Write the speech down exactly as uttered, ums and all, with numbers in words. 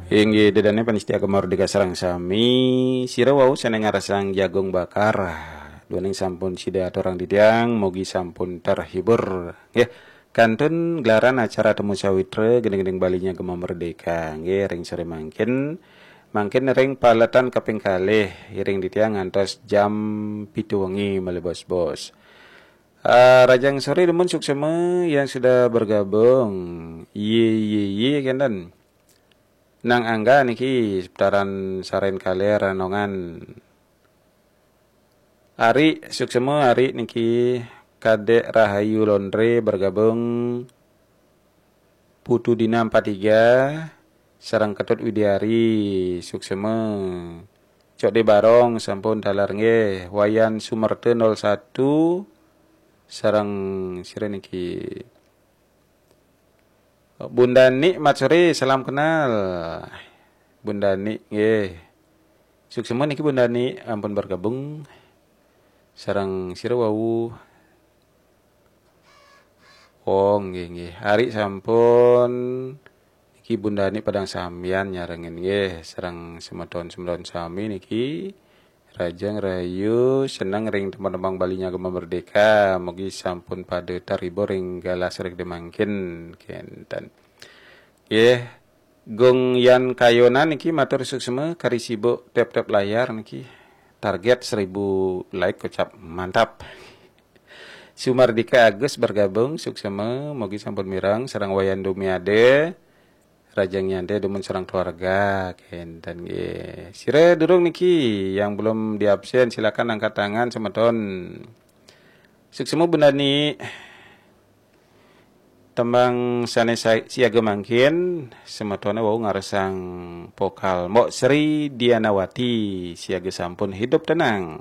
Inggih, ida dané pamiarsa Gema Merdeka sareng sami, sira wau sané ngarsang jagung bakar. Duaning sampun sida aturang titiang, mugi sampun terhibur. Nggih, kantun gelaran acara Temu Sawitra gending-gending Balinya Gema Merdeka. Nggih, ring sore mangkin. Mangkin ring paletan kaping kalih, iring titiang ngantos jam pitu wengi malih bos-bos. Ah, rahajeng sore dumun, suksma yang sudah bergabung. Yé, yé, yé, kénten. Nang Angga niki seputaran Saren Kaler Ranongan. Ari, suksma Ari niki, Kadek Rahayu Londre bergabung, Putu Dina empat tiga, sareng Ketut Widiari, suksma. Cok De Barong sampun taler nggih, Wayan Sumerta nol satu, sareng sira niki. Bundani Matsuri, salam kenal. Bundani nggih. Suksma niki Bundani ampun bergabung. Sareng sira wau. Oh, nggih, nggih. Ari sampun niki Bundani Padang Sambian nyarengin nggih. Sareng semeton-semeton sami niki. Rahajeng rahayu, seneng ring tembang-tembang Balinya Gema Merdeka. Mugi sampun pada terhibur ring galah sore mangkin, kénten. Nggih, Gung Yan Kayonan niki matur suksma kari sibuk tep-tep layar niki. Target seribu like kocap, mantap. Sumardika Agus bergabung, suksma, mugi sampun mireng, sareng Wayan Dumiade. Rahajeng nyantai dumun sareng keluarga, kénten nggih. Sira durung niki yang belum diabsen, silakan angkat tangan semeton. Suksma Bundani. Tembang sané sa-, siaga mangkin, semetoné wau ngarsang vokal Mbok Sri Dianawati, siaga sampun hidup tenang.